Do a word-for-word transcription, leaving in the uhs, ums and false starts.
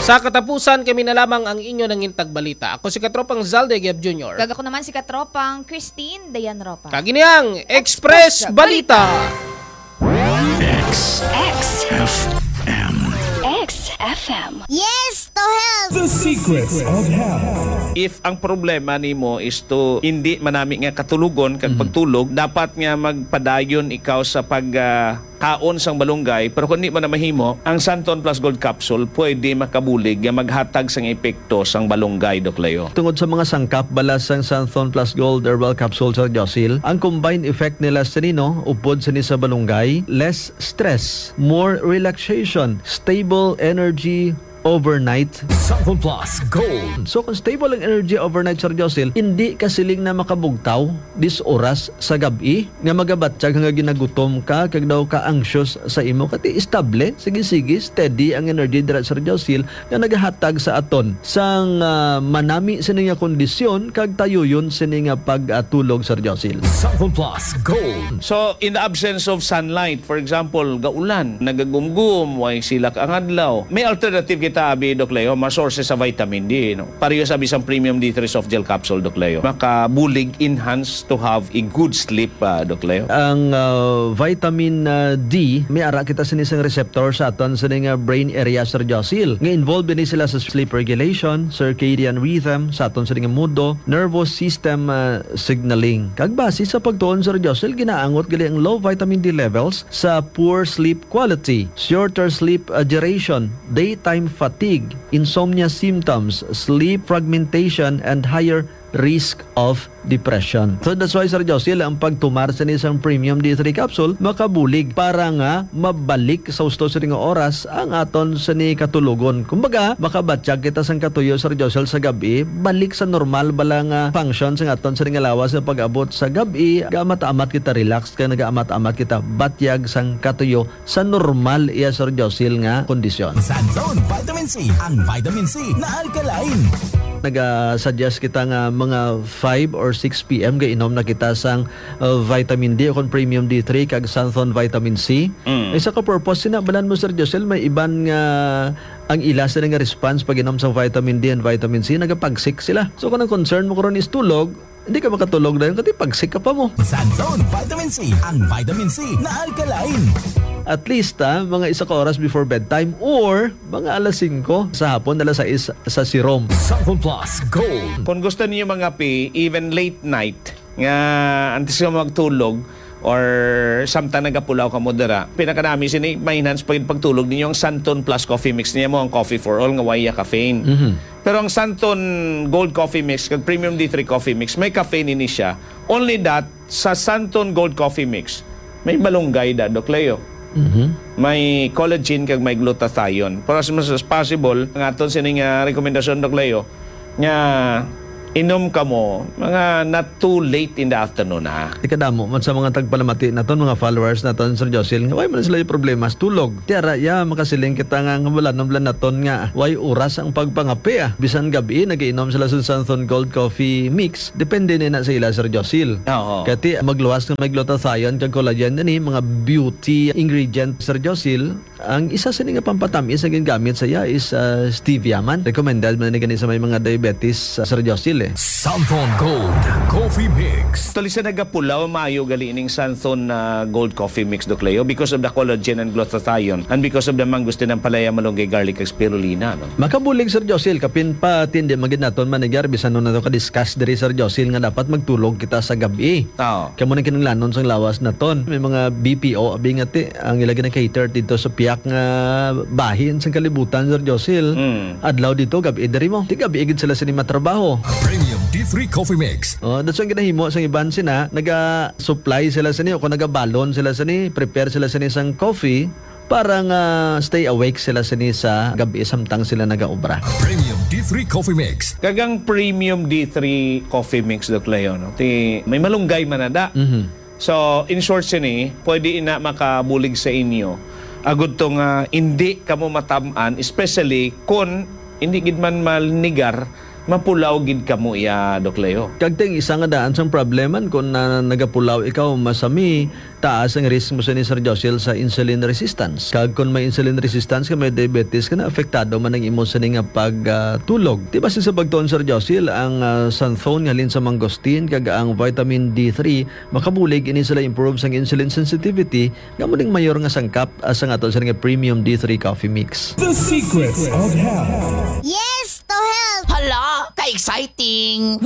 Sa katapusan, kami na lamang ang inyo nangintag balita. Ako si Katropang Zalde Giab Junior. Kag ako naman si Katropang Christine Dayan Ropa. Kag ini ang Express Balita. X X F M. X F M. Yes to health! The Secrets of Health. If ang problema nimo is to hindi manami nga katulogon kag pagtulog, dapat nga magpadayon ikaw sa pag ah, kaon sang balunggay, pero kung di mo na mahimo, ang Santon Plus Gold Capsule pwede makabulig nga maghatag sang epekto sang balunggay, Doc Leo. Tungod sa mga sangkap bala sang Santon Plus Gold Herbal Capsule, Sir Josil, ang combined effect nila sa nino, upod sini sa balunggay, less stress, more relaxation, stable energy overnight. Santon Plus Gold. So kung stable ang energy overnight, Sir Josil, hindi ka siling na makabugtaw dis oras sa gab-i nga magabatyag nga ginagutom ka kag daw ka anxious sa imo, kati estable, sige-sige, steady ang energy dira, Sir Josil, nga nagahatag sa aton sang ah, manami sini nga kondisyon kag tayuyon sini nga pagtulog, Sir Josil. Santon Plus Gold. So, in the absence of sunlight, for example, gaulan, nagagumgum, way silak ang adlaw, may alternative kita, abi, Doc Leo, mga sources sa vitamin D, no? Pareho sa bisang Premium D three Soft Gel Capsule, Doc Leo. Makabulig, enhance to have a good sleep, ah, Doc Leo. Ang ah, vitamin ah, D, may ara kita sini sang receptor sa aton sini nga brain area, Sir Josil, nga involved ini sila sa sleep regulation, circadian rhythm, sa aton sini nga mundo, nervous system ah, signaling. Kag base sa pagtuon, Sir Josil, ginaangot gali ang low vitamin D levels sa poor sleep quality, shorter sleep ah, duration, daytime fatigue, insomnia symptoms, sleep fragmentation, and higher risk of depression. So that's why, Sir Josil, ang pagtumar sini sang Premium D three capsule makabulig para nga mabalik sa husto sini nga oras ang aton sini katulogon. Kumbaga, makabatyag kita sang katuyo, Sir Josil, sa gab-i, balik sa normal bala nga function sang aton sini nga lawas sa pag-abot sa gab-i, gaamat-amat kita relax kag nagaamat-amat kita batyag sang katuyo sa normal iya, Sir Josil, nga kondisyon. Santon Vitamin C, ang vitamin C na alkaline. Naga-suggest kita nga mga five or six P M gainom na kita sang uh, vitamin D o kon premium D three kag Santon vitamin C. Mm. Isa ka purpose sina balan mo, Sir Josil, may iban nga ang ila sila nga response pag inom sa vitamin D and vitamin C, nagapagsik sila. So kung ang concern mo karon is tulog, hindi ka makatulog dayon, kati pagsik ka pa mo. Sanzone Vitamin C, ang vitamin C na alkaline. At least, ah, mga isa ka oras before bedtime or mga alas singko sa hapon, alas sais sa sirom. Sanzone Plus Gold. Kung gusto niyo mangape, even late night, nga antes nga magtulog, or samtang nagapulaw ka mo dira, pinakanami sini, ma-enhance pa gid pagtulog ninyo ang Santon Plus Coffee Mix niya mo, ang coffee for all nga way caffeine. Mhm. Pero ang Santon Gold Coffee Mix kag Premium D three Coffee Mix, may caffeine ini siya. Only that, sa Santon Gold Coffee Mix, may malunggay da, Doc Leo. Mhm. May collagen kag may glutathione. Pero as much as possible, ang aton sining ah, rekomendasyon, Doc Leo, nga inom kamo mga not too late in the afternoon, ha. Ikadamo man sa mga tagpalamati naton, mga followers naton, Sir Josil, nga way man sila yung problema sa tulog. Tiara, ya, makasiling kita nga, nga wala nang naton nga way oras ang pagpangape, ah. Bisan gabi, nagiinom sila sa Santon Gold Coffee Mix. Depende ni na sa ila, Sir Josil. Oo. Kati, magluwas nga may glutathione kag collagen din, eh, mga beauty ingredient, Sir Josil. Ang isa sini nga pampatamis nga gingamit sa iya is ah, stevia man. Recommended man ni gani sa may mga diabetes, ah, Sir Josil, eh. Santon Gold Coffee Mix. Actually, sa nagapulaw, maayo gali ning Santon ah, Gold Coffee Mix, Doc Leo, because of the collagen and glutathione and because of the mangosteen, ampalaya, malunggay, garlic, kag spirulina, no? Makabulig, Sir Josil, kapin pa tindi magid naton manigar bisan nun nato ka-discuss diri, Sir Josil, nga dapat magtulog kita sa gabi. Oo. Kamo nang kinahanglanon sang lawas naton. May mga B P O abi nga ti ang ila gina-cater dito sa piyak nga bahin sang kalibutan, Sir Josil. Mm. Adlaw dito, gabi diri mo. Ti gabi gid sila sini matrabaho. Premium D three Coffee Mix. Oh, that's why ginahimo sang iban sina, naga-supply sila sini o kung nagabalon sila sini, prepare sila sini sang coffee para nga stay awake sila sini sa gabi samtang sila nagaobra. Premium D three Coffee Mix. Kag ang Premium D three Coffee Mix, Doc Leo, no? Ti, may malunggay man na da. Mhm. So, in short sini, pwede ina makabulig sa inyo. Agud to nga hindi kamo matam-an, especially kung hindi gid man malnigar Mapulaw gid kamo iya, Doc Leo. Kag ting isa nga daan sang probleman kung na nagapulaw ikaw, masami taas ang risk mo sini, Sir Joshel, sa insulin resistance. Kag kung may insulin resistance ka, may diabetes ka na, apektado man ang imo sini nga pagtulog. Di ba sa pagtuon, Sir Joshel, ang ah, xanthone nga halin sa mangosteen kag ang vitamin D three makabulig ini sila improve sang insulin sensitivity, nga mo ning mayor nga sangkap ah, sang aton sini nga premium D three coffee mix. The Secrets of Health. Yes to health! Hala, ka-exciting!